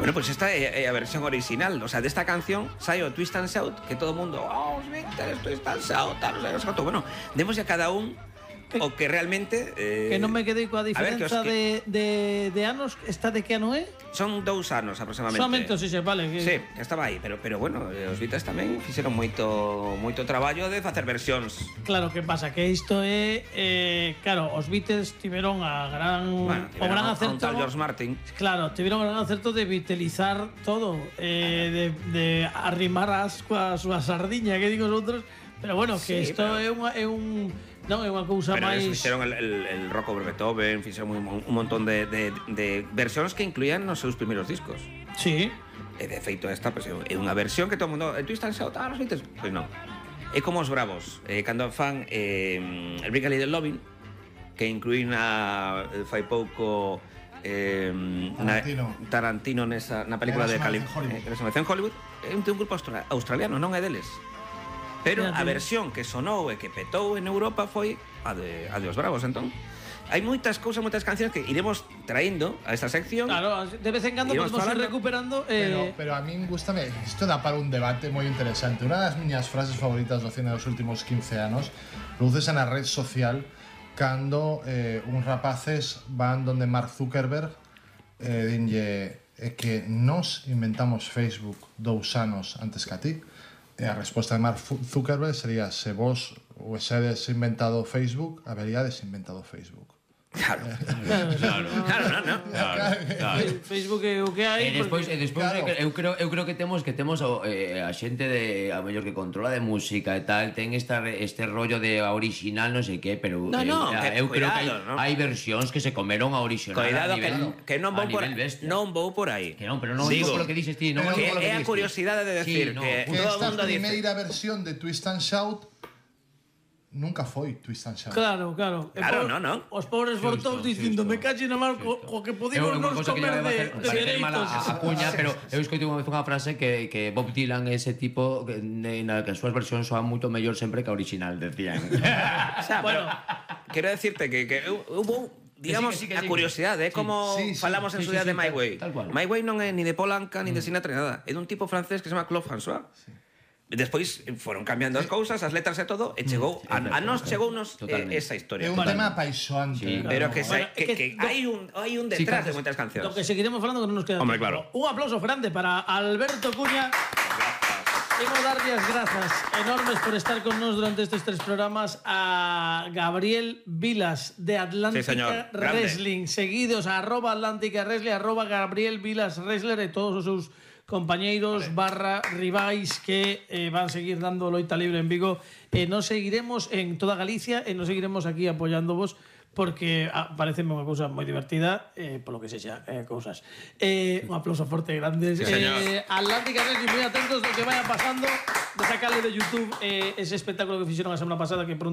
Bueno, pues esta é a versión original. O sea, desta canción sai o Twist and Shout, que todo o mundo, os Beatles, Twist and Shout, tal, non sei, bueno, demos a cada un o que realmente... Que non me quedei coa diferenza de anos. Esta de que ano é? Son 2 anos aproximadamente. Solamente, sí, vale. Sí, estaba aí, pero bueno, os Beatles tamén fixeron moito traballo de facer versións. Claro, que pasa? Que isto é... claro, os Beatles tiveron o gran acerto... Un tal George Martin. Claro, tiveron o gran acerto de beatlizar todo, de arrimar a súa sardiña, que digo os outros, pero bueno, que isto é un non é unha cousa máis... Pero fixeron el rock over Beethoven, fixeron un montón de versións que incluían nos seus primeiros discos. Sí. E de feito esta pues, é unha versión que todo o mundo... Twist and Shout, los Beatles? Pois non. É como os Bravos, cando fan el Bring a Little Lovin', que incluín fai pouco Tarantino na película de Resonancia en Hollywood. É un grupo australiano, non é deles. Pero a versión que sonou e que petou en Europa foi a de Os Bravos, entón. Hai moitas cousas, moitas cancións que iremos traendo a esta sección. Claro, de vez en cando podemos ir recuperando. Pero a min gustame, isto dá para un debate moi interesante. Unha das miñas frases favoritas do cine dos últimos 15 anos produces na red social cando uns rapaces van donde Mark Zuckerberg dinlle que nos inventamos Facebook 2 anos antes que a ti. E a resposta de Mark Zuckerberg sería: se vos huesedes inventado Facebook, haberíades inventado Facebook. Claro. Facebook é o que hai. E despois eu creo que temos a xente a mellor que controla de música e tal, ten este rollo de a original non sei que, pero eu creo que hai versións que se comeron a original. Cuidado, que non vou por aí. Que non, pero non digo polo que dices ti, non digo polo que é a curiosidade de decir que esta primeira versión de Twist and Shout nunca foi Twist and Shout. Claro. Non. Os pobres fortós dicindo, me cache na mar co que podimos nos comer de dereitos. A cuña, pero eu escoitei unha vez unha frase que Bob Dylan é ese tipo na que as súas versións soan moito mellor sempre que a original, decían. Bueno, quero decirte que hubo, digamos, a curiosidade, é como falamos en su día de My Way. My Way non é ni de Paul Anka ni de Sinatra nada, é dun tipo francés que se chama Claude François. Despois foron cambiando as cousas, as letras e todo, e chegou a nos chegounos esa historia. É un tema apaixoante. Pero que hai un detrás de moitas cancións. Lo que seguiremos falando que non nos queda. Hombre, claro. Un aplauso grande para Alberto Cuña. Queremos darlle as grazas enormes por estar con nos durante estes 3 programas, a Gabriel Vilas de Atlántica Wrestling, seguidos a @Atlántica Wrestling, @Gabriel Vilas Wrestler e todos os seus compañeiros /rivais que van seguir dando loita libre en Vigo. Nos seguiremos en toda Galicia e nos seguiremos aquí apoyándovos porque parece unha cousa moi divertida, polo que sexa, cousas. Un aplauso forte grande. Atlántica Wrestling, moi atentos do que vaya pasando, de sacarle de YouTube ese espectáculo que fixeron a semana pasada, que pronto